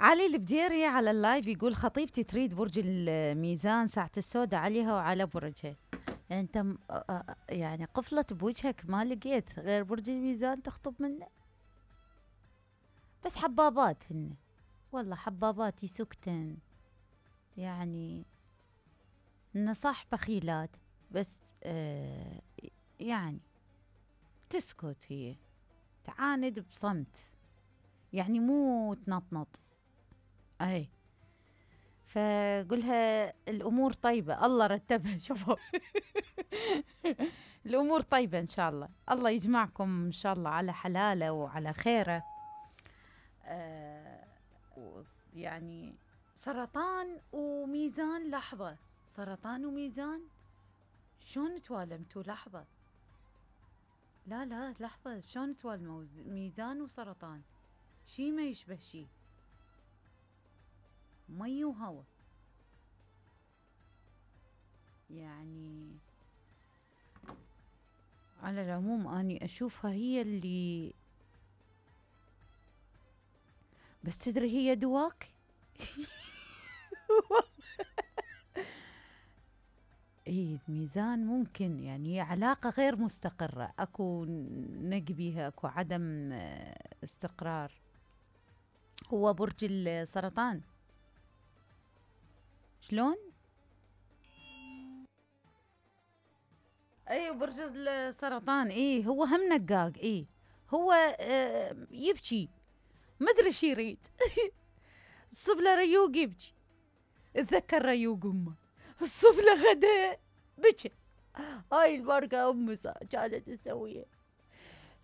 علي البديري على اللايف يقول خطيبتي تريد برج الميزان، ساعة السوداء عليها وعلى برجها. انت يعني قفلت بوجهك، ما لقيت غير برج الميزان تخطب منه؟ بس حبابات هن، والله حبابات يسكتن، يعني انه صح بخيلات، بس يعني تسكت، هي تعاند بصمت، يعني مو تنطنط. اي فقولها الامور طيبه، الله رتبها. شوفوا الامور طيبه ان شاء الله، الله يجمعكم ان شاء الله على حلاله وعلى خيره. يعني سرطان وميزان، لحظه، سرطان وميزان شلون توالمتوا؟ لحظه، لا لحظه، شلون توالموا ميزان وسرطان؟ شي ما يشبه شي، مي وهوا. يعني على العموم اني اشوفها هي اللي، بس تدري هي دواك. اي الميزان ممكن يعني هي علاقة غير مستقرة، اكو نق بيها، اكو عدم استقرار. هو برج السرطان شلون؟ اي برج السرطان، اي هو هم نقاق، اي هو يبكي، ما ادري شي يريد. الصب له ريوق يبكي، اتذكر ريوق امه، الصب له غدا بكى. هاي البركة امه كانت تسويها،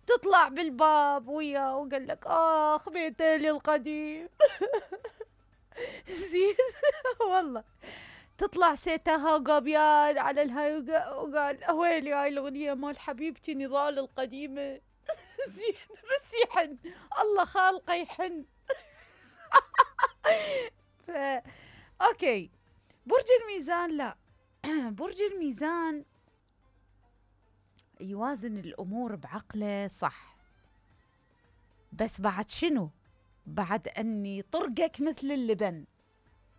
تطلع بالباب وياه وقال لك اخ بيتي القديم. زين. والله تطلع سيتها قبيان على الهاي، وقال ويلي هاي الاغنيه مال حبيبتي نضال القديمه. زين بس يحن، الله خالقه يحن. اوكي برج الميزان، لا برج الميزان يوازن الامور بعقله صح، بس بعد شنو؟ بعد اني طرقك مثل اللبن،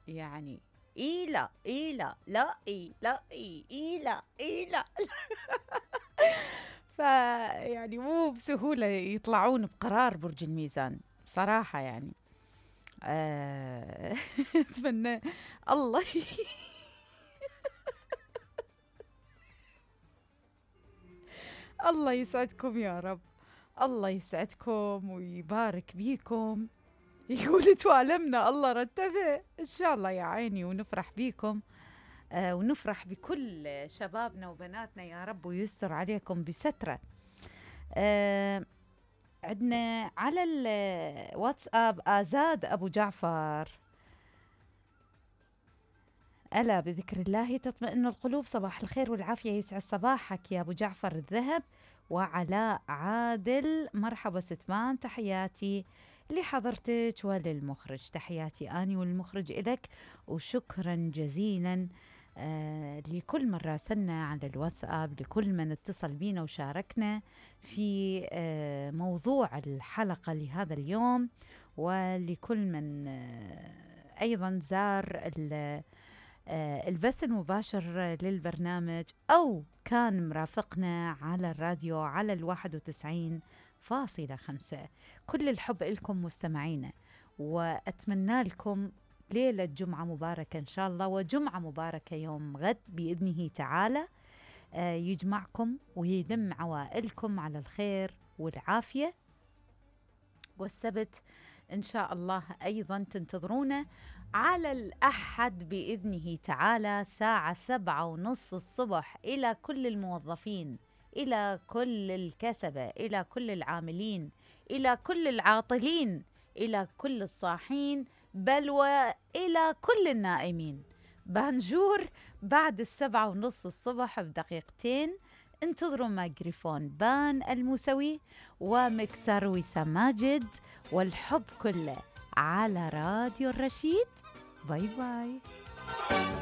يعني اي لا اي لا لا اي لا اي لا اي لا. فيعني مو بسهوله يطلعون بقرار برج الميزان بصراحه، يعني اتمنى الله الله يسعدكم يا رب، الله يسعدكم ويبارك بيكم. يقول توالمنا، الله رتبها ان شاء الله يا عيني، ونفرح بيكم ونفرح بكل شبابنا وبناتنا يا رب، ويستر عليكم بستره. عندنا على الواتساب آزاد أبو جعفر، ألا بذكر الله تطمئن القلوب، صباح الخير والعافية، يسعد صباحك يا أبو جعفر الذهب. وعلاء عادل، مرحبا ستمان، تحياتي لحضرتك وللمخرج، تحياتي أني والمخرج إلك، وشكرا جزيلا لكل من راسلنا على الواتساب، لكل من اتصل بينا وشاركنا في موضوع الحلقة لهذا اليوم، ولكل من أيضا زار البث المباشر للبرنامج أو كان مرافقنا على الراديو على 91.5. كل الحب لكم مستمعينا، وأتمنى لكم ليلة جمعة مباركة إن شاء الله، وجمعة مباركة يوم غد بإذنه تعالى، يجمعكم ويلم عوائلكم على الخير والعافية. والسبت إن شاء الله أيضا تنتظرونا على الأحد بإذنه تعالى ساعة 7:30 الصبح، إلى كل الموظفين، إلى كل الكسبة، إلى كل العاملين، إلى كل العاطلين، إلى كل الصاحين، بل وإلى كل النائمين. بانجور بعد 7:30 الصبح بدقيقتين. انتظروا ميكروفون بان الموسوي ومكسر وسام ماجد، والحب كله على راديو الرشيد. باي باي.